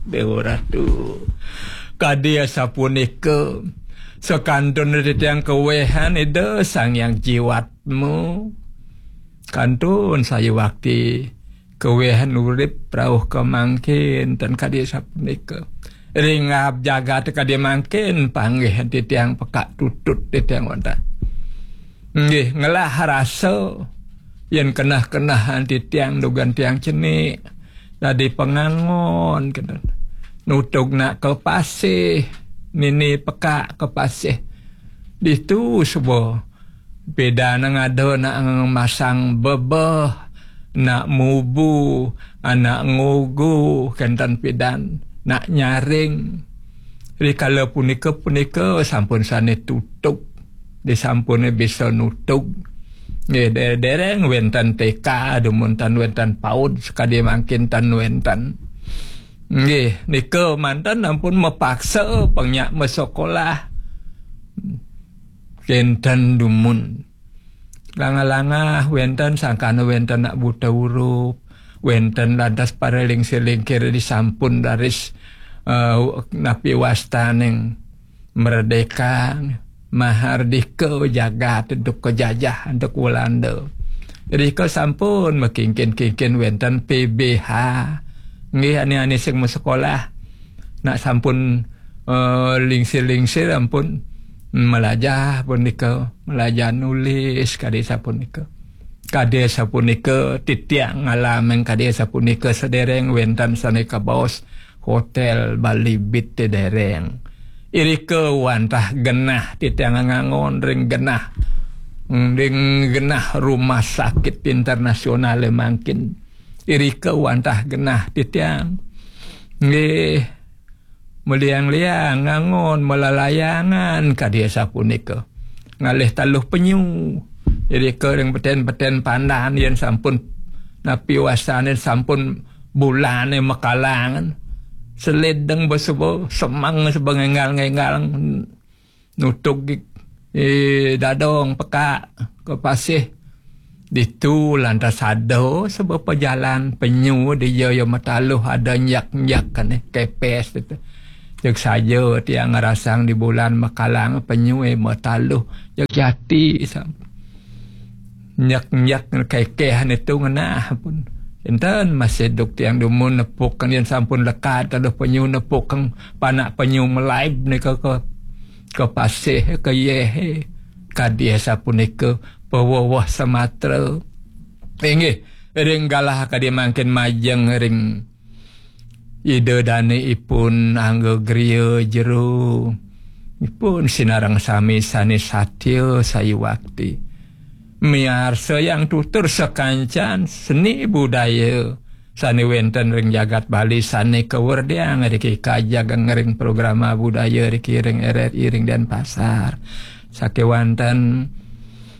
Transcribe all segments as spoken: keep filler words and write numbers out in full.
Dewa Ratu. Kadi asapunika, sakantun titiang kawehan Ida Sang Hyang Jiwatma. Kantun sayuwakti kawehan urip rauh ka mangkin, ten kadi asapunika. Ring ngab jagat kadi mangkin, panggih titiang pekak tutut titiang wantah. Nggih, ngelah rasa yen keneh-kenehan titiang dugan tiang cenik, dadi pangangon, kenten. Nutug nak ka pasih, nini pekak ka pasih. Ditu suba pidan ngada nak masang bebeh, nak mubu, anak ngugu, kenten pidan, nak nyaring. Rikala punika, punika sampun sane tutug. Disampune bisa nutug. Nggih, de-, dereng wenten T K, dumun tan wenten paud, sakadi mangkin tan wenten. Nggih, nika manten ampun mapaksa pang nyak masekolah. Kenten dumun. Langah-langah wenten sangkana wenten nak buta huruf, wenten lantas para lingsir-lingkir disampun raris, eh, napi wastaning merdeka, mahardika jagat duk kajajah antuk Walanda. Rika sampun makingkin-kingkin wenten P B H. Nggih, ani-ani sing masekolah. Nak sampun, eh, lingsir-lingsir ampun malajah punika, malajah nulis kadi sapunika. Kadi sapunika titiang ngalameng kadi sapunika sedereng wenten sane kabaos Hotel Bali Beat dereng. Irika wantah genah titiang ngangon ring genah, ring genah rumah sakit internasional mangkin. Irika wantah genah titiang. Nggih, maliang-liang ngangon malalayangan kadi sapunika. Ngalih taluh penyu. Irika ring beten-beten pandan yen sampun napi wasane sampun bulane makalangan. Selideng besuba semeng suba ngenggal-ngenggal nutug, eh, dadong pekak ka pasih. Ditu lantas ada sebab pejalan penyu dija ya mataluh ada nyak-nyak kene kepes itu. Jeg saja tiang ngerasang di bulan makalang penyu, eh, mataluh jeg jati sam. Nyak-nyak kekeh itu ngenah pun. Enten masih duk tiang dumun nepuk kang yen sampun lekad taluh penyu nepuk kang panak penyu melaib nika ke, ke pasih, ke yeh, kadi sapunika paweweh Sumatera. Inggih, ring galah kadi mangkin majeng ring Ida dane ipun angga griya jero. Ipun sinareng sami sane satya sayuwakti. Miarsa yang tutur sakancan seni budaya sane wenten ring jagat Bali sane kawerdiang riki kajageng ring programa budaya riki ring R R I ring Denpasar. Sakewanten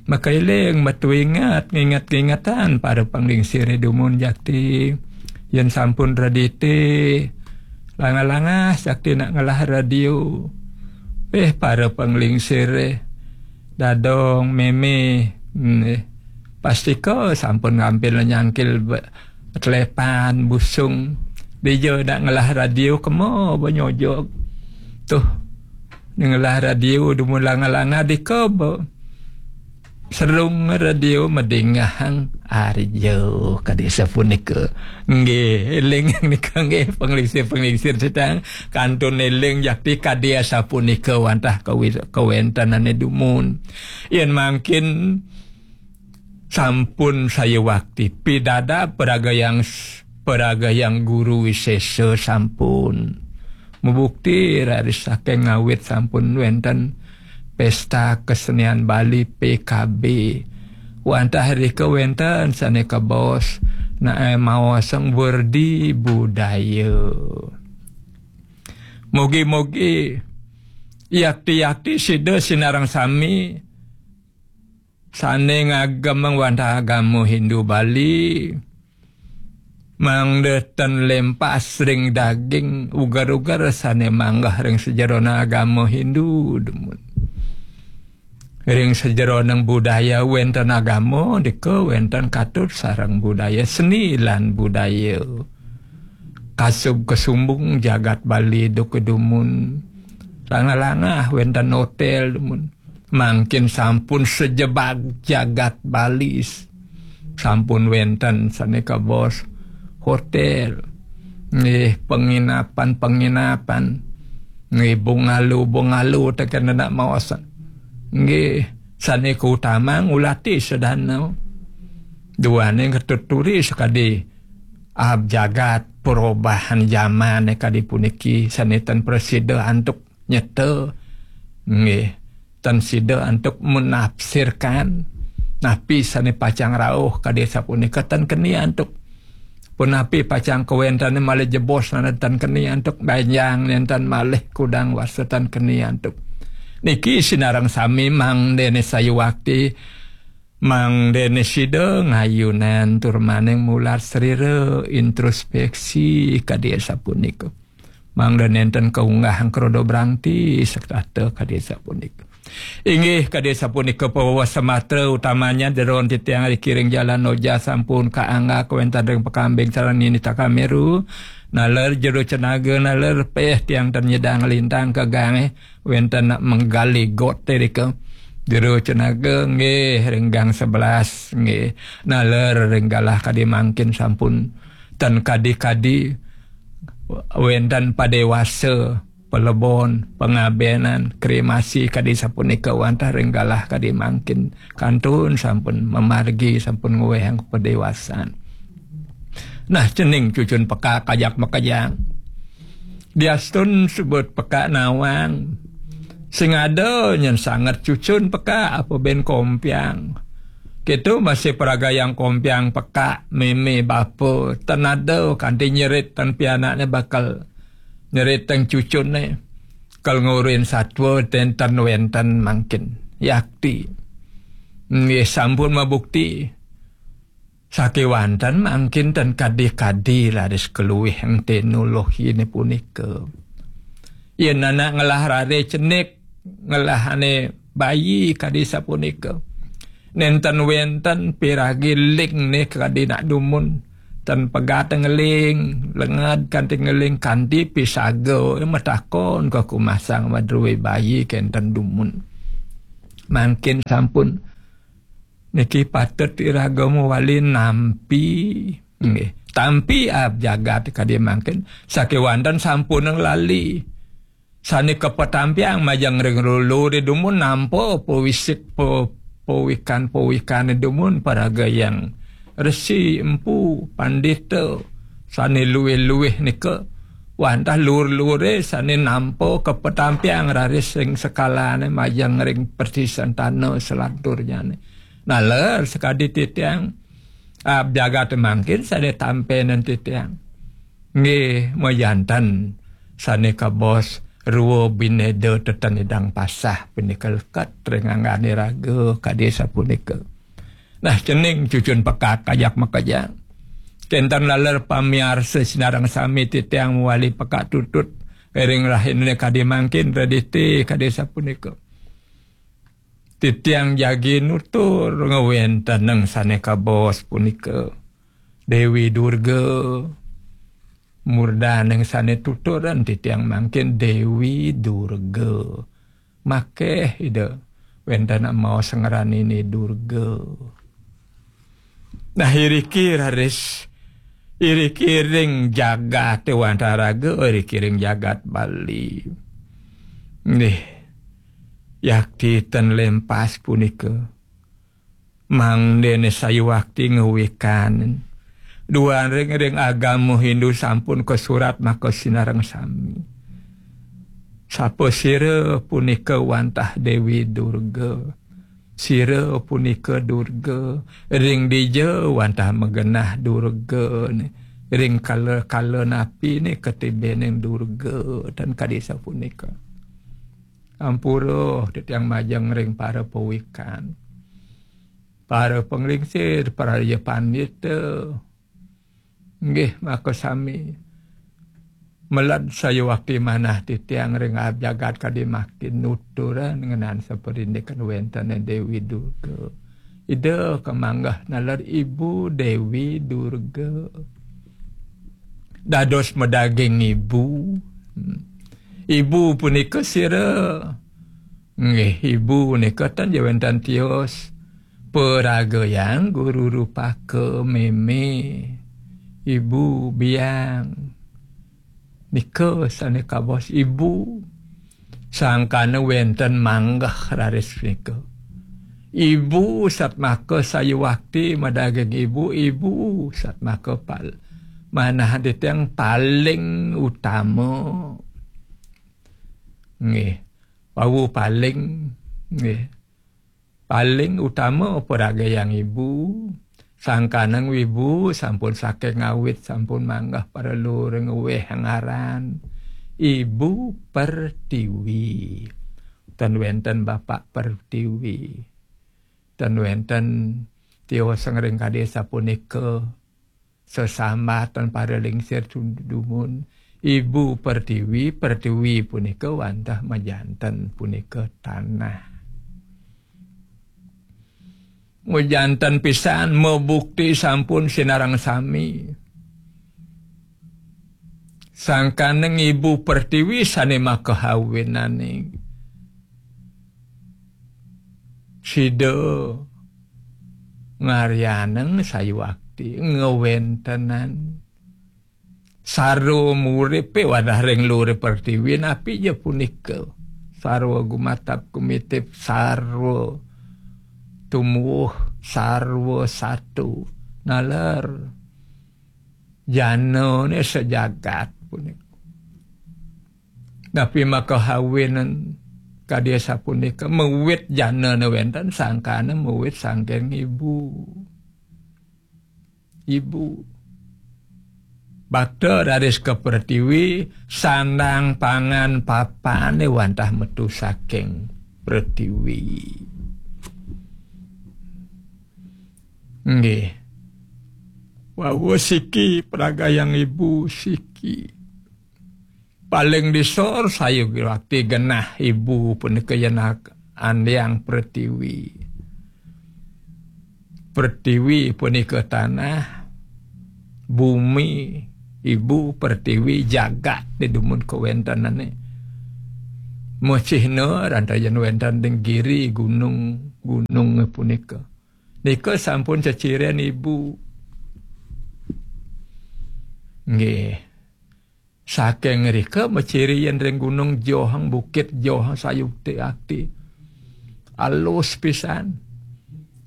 makailing, metu inget, nginget-ngingetan para panglingsire dumun jakti. Yen sampun redite, langah-langah jakti nak ngelah radio. Eh, para panglingsire, dadong, meme, hmm, eh, pastika sampun ngampil nyangkil be-, telepan, busung. Dija nak ngelah radio kema banyojog. Tuh, ngelah radio dumun langah-langah dika be-, serung radio madingehang arja kadi sapunika. Nggih, eling nika nggih panglingsir-panglingsir sedang kantun eling jakti kadi sapunika wantah kawi-, kawentenane dumun. Yen mangkin sampun sayuwakti pidada paragayang, paragayang guru wisesa sampun mabukti raris saking ngawit sampun wenten Pesta Kesenian Bali P K B. Wantah rika wenten sane kabaos nae maosang werdi budaya. Mugi-mugi yakti-yakti sida sinareng sami sane ngagem wantah agama Hindu Bali, mangda ten lempas ring daging uger-uger sane manggeh ring sajeroning agama Hindu dumun. Ring sajeroning budaya wenten agama, dika wenten katut sareng budaya seni lan budaya. kasub kasumbung jagat Bali duka dumun. Langah-langah wénten hotél dumun. Mangkin sampun sejebag jagat Bali. Sampun wénten sané kabaos hotél. Nggih, penginapan-penginapan. Nggih, bungalow-bungalow tekén nak maos. Nggih, sané kautama ngulati sedana. Duaning ketuturi sakadi ab jagat perubahan zaman kadi puniki sané ten prasida antuk nyeta. Nggih, ten sida antuk menafsirkan napi sané pacang rauh kadi sapunika ten keni antuk. Punapi pacang kawéntené malih jebos nana ten keni antuk, banjang nénten malih kudang wasa ten keni antuk. Niki sinareng sami mangdané sayuwakti, mangdané sida ngayunan tur maning mular srira introspeksi kadi sapunika. Mangda nénten kaunggah krodo brangti setata kadi sapunika. Inggih kadi sapunika pawewa samatra utamanya jeron titiang ri kiring jalan oja sampun kaangga kawénten ring Pakambing sareng Nini Takameru. Naler jero cenaga naler péh tiang ten nyidang lintang ka gangé wénten nak menggali got irika. Jero cenaga nggih ring gang sebelas nggih. Naler ring galah kadi mangkin sampun ten kadi-kadi wénten padéwasa, palebon, pangabénan, kremasi kadi sapunika wantah ring galah kadi mangkin kantun sampun mamargi sampun ngwéhang padéwasan. Nah, cening cucun pekak ajak makejang. Diastun sebut pekak nawang. Sing ada nyen sanget cucun pekak apa bén kompiang. Kéto masih peragayang kompiang pekak mémé bapa ten ada kanti nyerit ten pianakné bakal nyerit teng cucunné. Kal ngurin satwa ten ten wénten mangkin. Yakti. Nggih sampun mabukti. Sakéwanten mangkin ten kadi-kadi raris kaluih ing teknologiné punika. Yén anak ngelah raris cenik, ngelah ané bayi kadi sapunika. Nénten wénten piragi lingné kadi nak dumun. Ten pegat ngeling, lenged kanti ngeling kanti pisaga matakon ka kumasang madrué bayi kénten dumun. Mangkin sampun Niki patut iraga mawali nampi. Nggih. Tampi ab jagat kadi mangkin. Sakéwanten sampun lali. Sané kapatampiang majeng ring lulu ri dumun nampa pawisik pa-, pawikan-pawikané dumun paraga yang resi empu pandita sané luwih-luwih nika wantah lur-luré sané nampa kapatampiang raris ring sekalané majeng ring persisantana selaturnyané. Naler sakadi titiang, ah, jagat mangkin sané tampénan titiang. Nggih, majanten sané kabaos rua binéda tetenidang pasah punika leket ring anggané raga kadi sapunika. Nah, cening cucun pekak ajak makejang. Kénten laler pamiarsa sinareng sami titiang mawali pekak tutut ring rahinané kadi mangkin redité kadi sapunika. Titiang jagi nutur ngawéntenang sané kabaos punika. Déwi Durga, murdaning sané tuturan titiang mangkin Déwi Durga. Makéh Ida wénten maos ngranina Durga. Nah, iriki raris, iriki ring jagaté wantah raga, iriki ring jagat Bali. Nggih, yakti ten lempas punika. Mangdané sayuwakti ngawikan. Duaning ring agama Hindu sampun kasurat maka sinareng sami. Sapa sira punika wantah Déwi Durga. Sira punika Durga, ring dija wantah magenah Durga, ring kala-kala napi né katibening Durga, tan kadi sapunika. Ampura titiang majeng ring para pawikan. Para panglingsir, para ya pandita, Nggih, maka sami. Meled sayuwakti manah titiang ring jagat kadi mangkin nuturan ngenan saparindikan wénten Déwi Durga. Ida kamanggeh naler Ibu Déwi Durga. dados madaging ibu. Ibu punika sira? Nggih, ibu nika ten ja wenten tios. Paragayang guru rupaka meme. Ibu biang. Nika sane kabaos ibu. Sangkana wenten manggeh raris nika. Ibu satmaka sayuwakti madaging ibu, ibu satmaka pal-, manah titiang paling utama. Nggih. Wau paling, nggih. Paling utama paragayang ibu, sangkaneng wibu sampun saking awit sampun manggah paralur ngweh ngaran Ibu Pertiwi. Ten wenten Bapak Pertiwi. Ten wenten tioseng ring kadi sapunika. Sesambatan para lingsir dumun. Ibu Pertiwi, Pertiwi punika wantah majanten punika tanah. Majanten pisan, mabukti sampun sinareng sami. Sangkaning Ibu Pertiwi sane makahawinane. Sida ngaryaneng sayuwakti ngawentenan sarwa muripe wadah ring lure pertiwi napi ja punika. Sarwa gumatap gumitip, sarwa tumuwuh, sarwa satu. Naler janane sajagat punika. Napi makahawinen kadi sapunika, mawit janane wenten sangkana mawit sangking ibu. Ibu. Bakta raris ka pertiwi, sandang pangan papane wantah metu saking pertiwi. Nggih. Wau siki pragayang ibu siki. Paling disor sayuwakti genah ibu punika yen ak-, andiang pertiwi. Pertiwi punika tanah, bumi, ibu, pertiwi, jagat di dumun kawentenane. Mesihna rantayan wenten ring giri, gunung, gunung punika. Nika sampun ceciren ibu. Nggih. Saking rika maciri yen ring Gunung Johang, Bukit Johang sayuwakti. Alus pisan.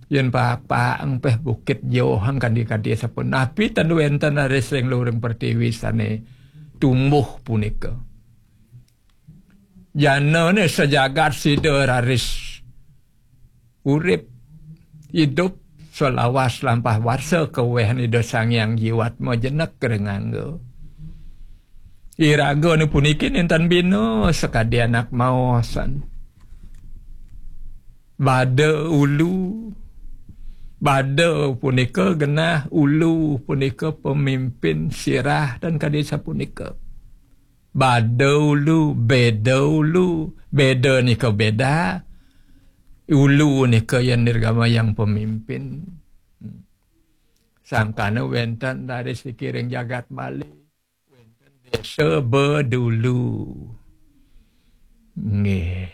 Yen papak engpeh Bukit Johang kandi-kandi sampun. Napi ten wenten raris ring luring pertiwi sane tumbuh punika. Janane sajagat sida raris urip, idup, salawas lampah warsa kaweh Ida Sang Hyang Jiwatma jenek ring angga. Iragane puniki nenten bina sakadi anak maosan. Bada ulu, bada punika genah, ulu punika pemimpin, sirah dan kadi sapunika. Bada ulu, beda ulu, beda nika beda. Ulu nika yen nirgama yang pemimpin. Sangkana wenten dari sikiring jagat Bali. Wenten desa Bedulu. Nggih.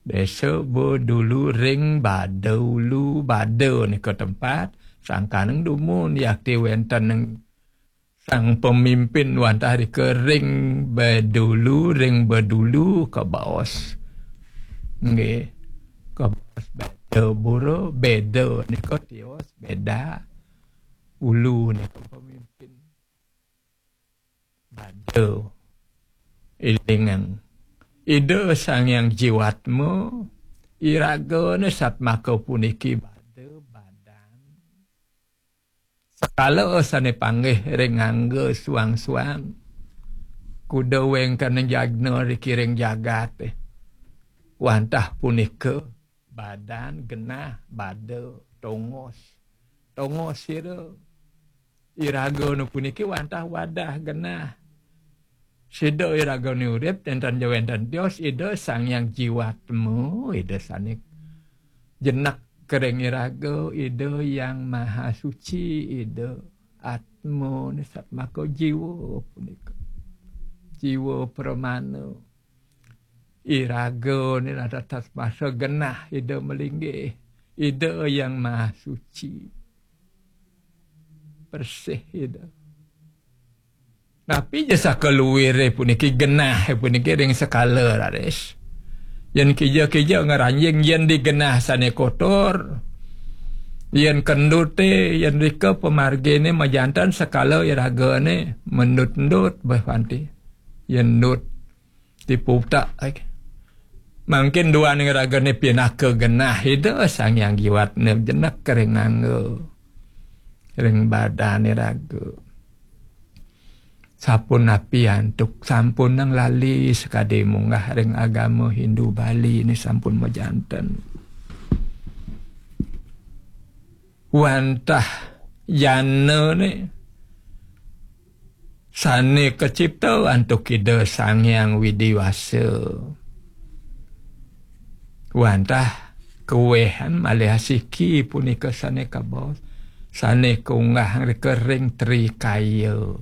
Desa Bedulu ring Bada Ulu, Bada nika tempat. Sangkaning dumun yakti wenten ning sang pemimpin wantah rika ring Bedulu, ring Bedulu kabaos. Nggih. Kabaos beda bura, beda nika tios, beda. Ulu nika pemimpin. Bada. Ilingang. Ida Sang Hyang Jiwatma, iragane satmaka puniki bada badan. Sekala sane panggih ring angga suang-suang. Kuda wengkana jagna rikiring jagate. Wantah punika badan genah, bada, tongos. Tongos sira. Iragana puniki wantah wadah genah. Sida iragane urip, nenten ja wenten tios, Ida Sang Hyang Jiwatma, Ida sane jenek kering iraga, Ida Yang Maha Suci, Ida Atma ni satmaka jiwa punika. Jiwa pramana. Iraga ni rata tasmasa genah Ida malinggih. Ida Yang Maha Suci. Bersih Ida. Napi ja sakaluire puniki genah puniki ring sekala raris. Yen kija-kija ngranjing yen di genah sane kotor. Yen kendute, yen rika pamargine majanten sekala iragane mendut-endut beh panti. Yen endut tipu utak. Mangkin duaning ragane pinaka genah Ida Sang Hyang Jiwatne jenek ring angga. Ring badane raga. Sapunapi antuk sampunang lali sakadi munggah ring agama Hindu Bali ni sampun majanten. Wantah jana ni sane kacipta antuk Ida Sang Hyang Widi Wasa. Wantah kawehan malih asiki punika sane kabaos, sane kaunggah rika ring Tri Kaya.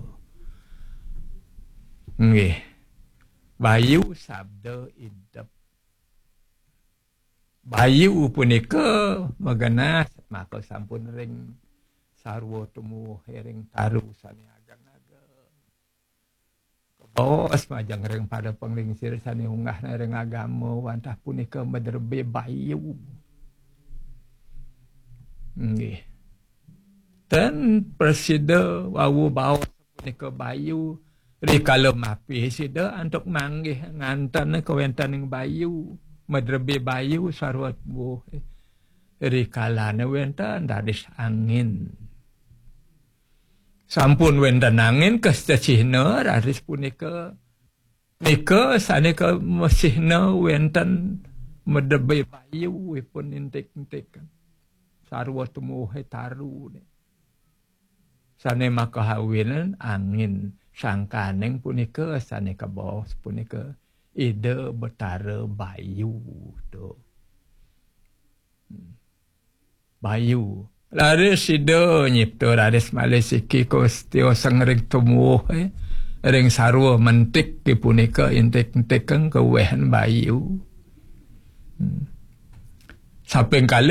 Nggih. Bayu sabda idep. Bayu punika magenah maka sampun ring sarwa tumuh ring taru sane ageng-ageng. Kabaos majeng ring pada panglingsir sane unggahna ring agama wantah punika madrebé bayu. Nggih. Ten prasida wau baos punika bayu. Rikala mapih sida antuk manggih nganten kawentening bayu, madrebé bayu sarwa tuwuh. Rikalane wenten raris angin. Sampun wenten angin kasita cihna raris punika. Nika sane ka masihna wenten madrebé bayu ipun intik-intik. Sarwa tumuhe taru ne. Sane makahawinan angin sangkaning punika sane kabaos punika Ida Betara Bayu to. Hmm. Bayu. Raris Ida nyipta raris malih siki kos tiosan ring tumuh, eh. Ring sarwa mentik punika intik-intik kang kawehan bayu. Hmm. Saping kalih